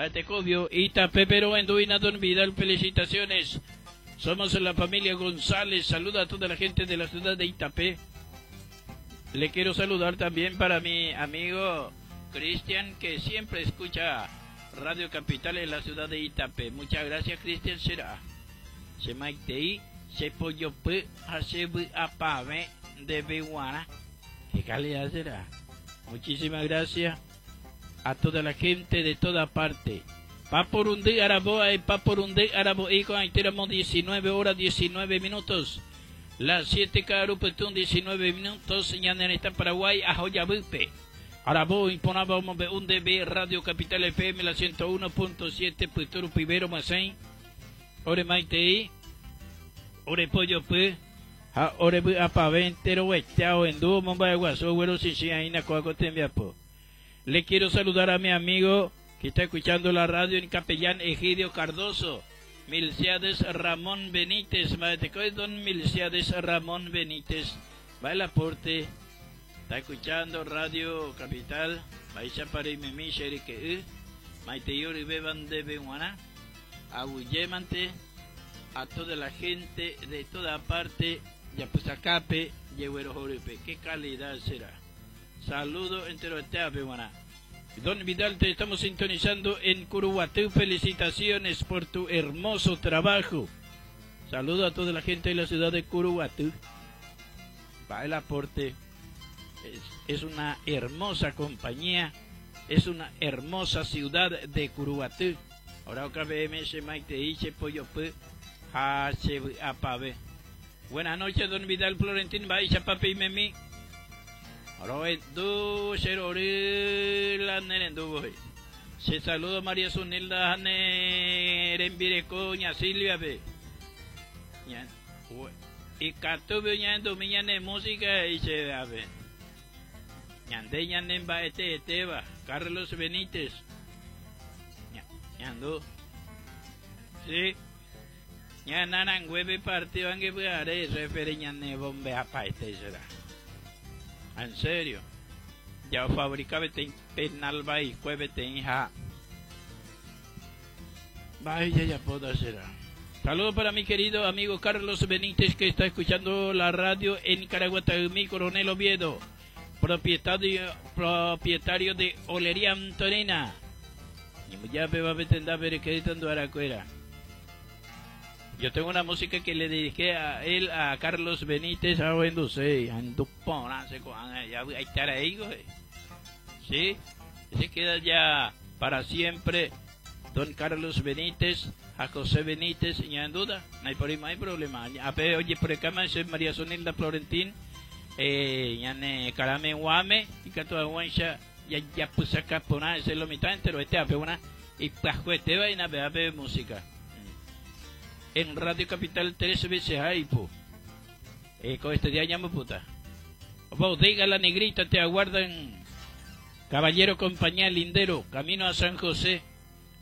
Tecobio, Itapé, pero Enduina Don Vidal, felicitaciones. Somos la familia González. Saluda a toda la gente de la ciudad de Itapé. Le quiero saludar también para mi amigo Cristian, que siempre escucha Radio Capital en la ciudad de Itapé. Muchas gracias, Cristian. Será. Se maitei, se pollo p, apave de Beguana. ¿Qué calidad será? Muchísimas gracias a toda la gente de toda parte. Pa por un día Araboa y pa por un día Arabo y con 19 horas 19 minutos. Las 7 Carupetún 19 minutos. está Paraguay a Joyabupe. Arabo imponaba un DB Radio Capital FM la 101.7 Puturu Pibero Masén. Ore Maitei. Ore Pollo P. Ha ore bu apaventero hueteao endu momba guasu güero sisi aina coaco tembiapo. Le quiero saludar a mi amigo que está escuchando la radio en Capellán Egidio Cardoso. Milciades Ramón Benítez, don Milciades Ramón Benítez. Va el aporte. Está escuchando Radio Capital. Baixa para imemi que Maite yori beban de beguana. Aguyemante a toda la gente de toda parte. Yapusacape, Yehuero Jorupe. Qué calidad será. Saludo entero buena. Don Vidal, te estamos sintonizando en Curuguatú. Felicitaciones por tu hermoso trabajo. Saludo a toda la gente de la ciudad de Curuguatú. Va el aporte. Es, una hermosa compañía. Es una hermosa ciudad de Curuguatú. Ahora OKBM, Maite, Pollo P, H, Buenas noches, don Vidal Florentín, Baixa, Papi y Memi. Se saluda María Sunilda Nerembireko ña Silvia be. Y katu ñando miñane música y se ve. Ñande ñanemba este eteba Carlos Benítez. Ñando. Sí. Ñanarangüeve partido angue are refere ñane bombe apa este será. En serio. Ya fabricaba penal va y cueve hija. Vaya, ya puedo hacer. Saludos para mi querido amigo Carlos Benítez que está escuchando la radio en Caraguatagumí, Coronel Oviedo. Propietario, propietario de Olería Antonina. Ya va a Yo tengo una música que le dediqué a él, a Carlos Benítez, a ahí, Sí, se queda ya para siempre don Carlos Benítez, a José Benítez, y en duda, no hay, por ahí, no hay problema. A oye, por acá soy María Sonilda Florentín, eh, carame guame, y que toda guancha, ya ya puse acá por nada, es lo mitad entero, este a una, y este va y na música. En Radio Capital tres veces hay, po. Con este día llamo puta. Bodega La Negrita te aguardan. Caballero compañía lindero, camino a San José.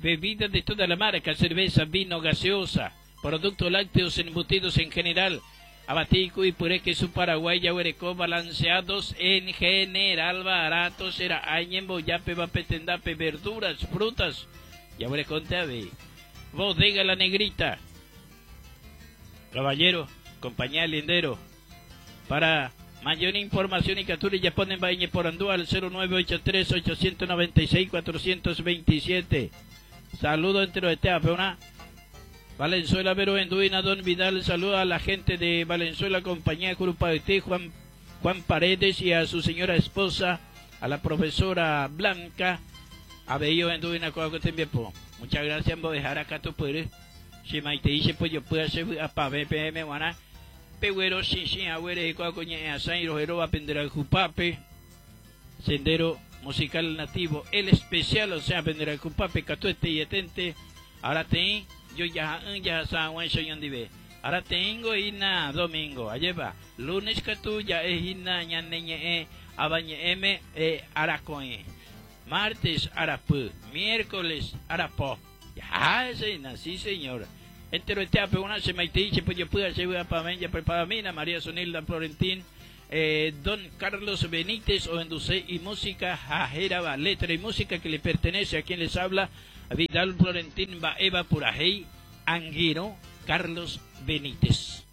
Bebidas de toda la marca, cerveza, vino, gaseosa, productos lácteos embutidos en general, abatico y puré queso paraguay, yahuerecó, balanceados en general, barato será, añembo, yape, vapetendape, verduras, frutas, yahuerecó, te Bodega La Negrita. Caballero, compañía lindero, para mayor información y captura ya ponen vaina por Andúa al 0983 896 427. Saludo entero de una Valenzuela Vero Enduina Don Vidal saluda a la gente de Valenzuela compañía Grupo de Juan Juan Paredes y a su señora esposa, a la profesora Blanca, a Bello Enduina Muchas gracias por dejar acá tu poder. Si maite dice pues yo puedo hacer a pa BPM guana. Peguero sin sin agüere coñe a San Rojero aprender al jupape. Sendero musical nativo, el especial, o sea, aprender al jupape, catuete y etente. Ahora ten, yo ya ya san Juan soy dive. Ahora tengo ina domingo, allá va. Lunes que ya es ina ñaneñe e abañe m e aracoe. Martes arapu, miércoles arapo. Ya, sí, señor. Entero este una se maite pues yo puedo hacer para ya prepara mina María Sonilda Florentín. Eh, don Carlos Benítez ohenduse imúsica ha hérava letra y música que le pertenece a quien les habla Vidal Florentín mba'éva purahéi angirũ Carlos Benítez.